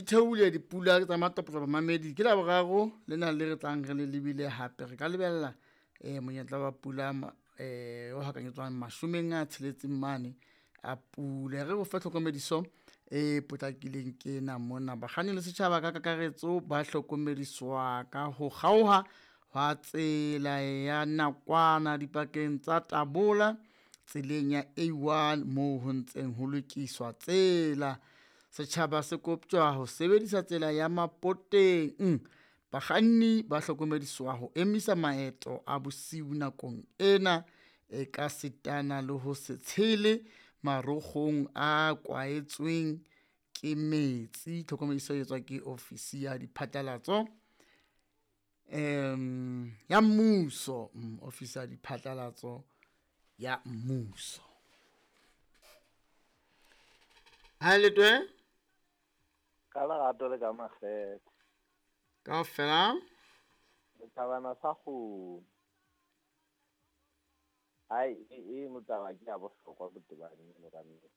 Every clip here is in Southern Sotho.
theohile dipula tsa matopotsa bamamedi. Ke la boraro le na le re tlang re le lebile hape. Re ka lebella monyetla wa pula o hakanyetswang 60 mane a pula. Re o fe tlhokomediso e potlakileng ke ena mona. Bakganni le setjhaba ka kakaretso ba hlokomediswa ka ho kgaoha hwa tsela ya nakwana dipakeng tsa Tabola tseleng ya A1 moo ho ntseng ho lokiswa tsela. Setjhaba se koptjwa ho sebedisa tsela ya Mapoteng. Bakganni ba hlokomediswa ho emisa maeto a bosiu nakong ena e ka sitana le ho se tshele marokgong a kwaetsweng ke metsi. Tlhokomediso e etswa ke ofisi ya diphatlalatso ya mmuso, ofisi ya diphatlalatso ya mmuso. Ha le twe ka lerato le ka makgethe kaofela setjhabana sa kgomo. Hai eno taba ke ya bohlokwa botebang eno ka nnete.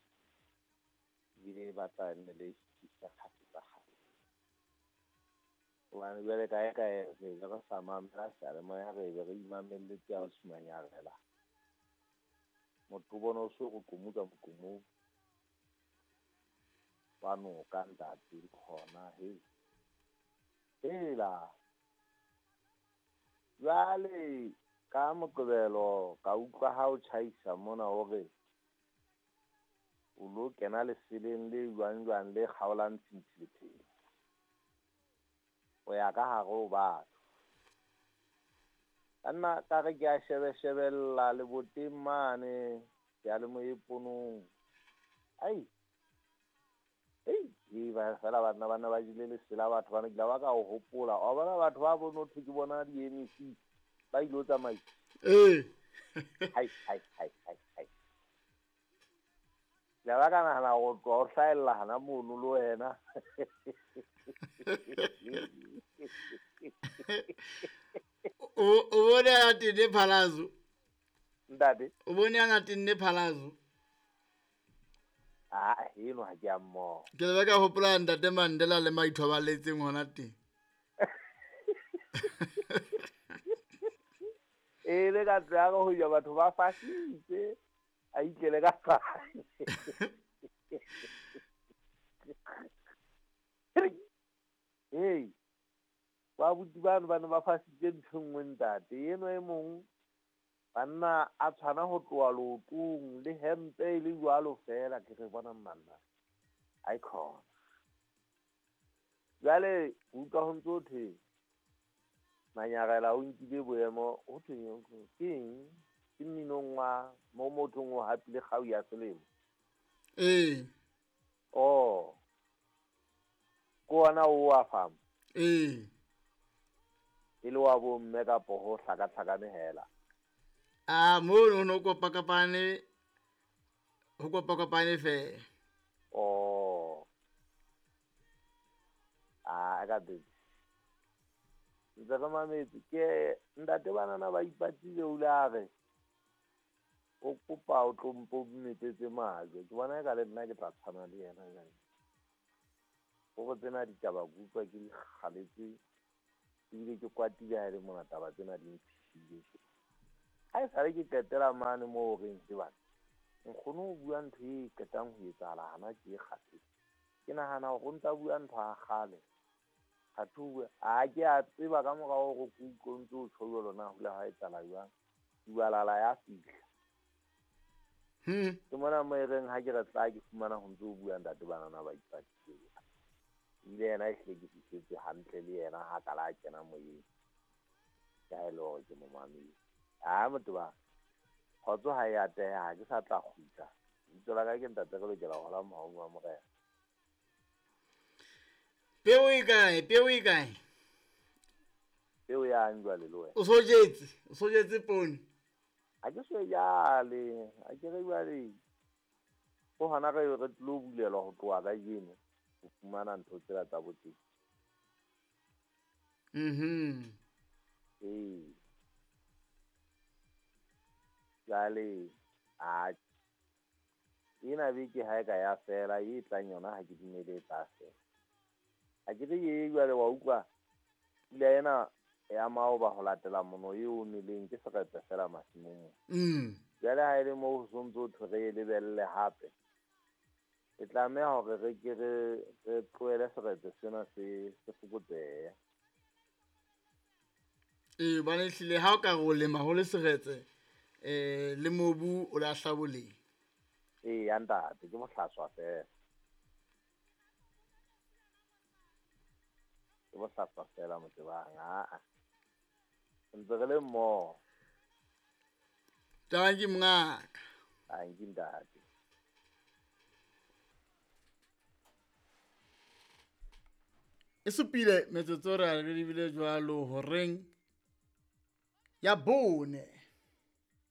Ebile e batla nne le kgafetsa kgafetsa. Hobane jwale kae kae re be re sa mamela seyalemoya, re be re imamelletse ya manyarela. Motho o bone o so re komuka moqomong wa noka ntate le hona hei. Hela jwale ka Moqebelo ka utlwa ha o tjhaisa mona hore o lo kena leseleng le jwang jwang le kgaolang tshintshi lepheyo. O ya ka hare ho batho. Ka nna ka re ke a shebe shebella leboteng mane seyalemoyeng ponong. Ai ei ba fela banna ba ne ba jele lesela batho bana ke la ba ka o hopola. Wa bona batho ba bone ho thwe ke bona di-MEC ba ilo tsamaisa. Ee. Hai hai hai hai hai. Ke la ba ka nahana ho tloha o hlahella hana mono le wena. O bone a tenne phalazo. Ntate. O bone a tenne phalazo. Ah, eno ha ke a mmoho. Ke le ka hopola ntate Mandela le maithobaletseng hona teng. E le ka tsaya ho ja batho ba fasitse a itlele ka fatshe. Hey, ba buti bano ba ne ba fasitse ntho e nngwe ntate. Eno e mong banna a tshwana ho tloha leotong le hempe e le jwalo fela ke re bona manna. Ai khona. Jwale utlwa ho ntso thwe Manyarela o nkile boemo ho thweng ke eng? Ke mminong wa mo mothong o hapile kgau ya selemo. Ee. Oh. Ke ona o wa fam. Ee. E le wa bomme kapo ho hlakahlakane hela. Ah, mo no kopakapane ho kopakapane fela. Oh. Ah, ka teng. Ntse re mametse ke ntate banana ba ipatile o le a re o kopa o tlo mpo metsetse majwe. Ke bona eka le nna ke tla tshwana le yena jwale. Hore tsena ditaba ke utlwa ke di kgaletse ebile ke kwatile ha e le mona taba tsena di mphihlile. Ha e sale ke qetela mane moo reng ke bana nkgono o bua ntho e qetang ho etsahala hana ke e kgathetse. Ke nahana hore o ntsa bua ntho ya kgale. Kgathe o bua a ke a tseba ka morao hore ke utlwe o ntso o tjho jwalo na ho ile ha etsahala jwang. Dubalala ya fihla. Ke mona mo e reng ha ke re tla ke fumana ho ntso o bua ntate banana ba ipatile. Ebile yena e hlile ke fihletse hantle le yena ha kala a kena moyeng. Ke ha e le hore ke mo mametse. Ah, motho ba kgotso ha e ateha ha ke sa tla kgutla. Lebitso la ka ke ntate re lokela ho hola mohaung wa Morena. Peo e kae? Peo e kae? Peo ya eng jwale le wena? O so jetse, o so jetse poone. Ha ke so e jale, ha ke re jwale. Ho hona re re tlo bulelwa ho tloha kajeno ho fumana ntho tsela tsa boteng. Ee. Jwale a ena beke ha e ka ya fela e tlang yona ha ke dumele e tla fela. A ke re ye jwale wa utlwa pula ena ya maoba ho latela mono e omeleng ke seretse fela masimong. Jwale ha e le moo ho sontso ho thwe re e lebelle hape, e tlameha hore re ke re tlohele seretse sena se fokotsehe. Ee, hobane ehlile ha o ka re o lema ho le seretse, le mobu o lahla boleng. Ee, ya ntate, ke bohlaswa fela. Ke bohlaswa fela Motebang, aa. Ntse re le mmoho. Tanki mongaka. Tanki ntate. E supile metsotso re a re lebile jwalo horeng ya 4.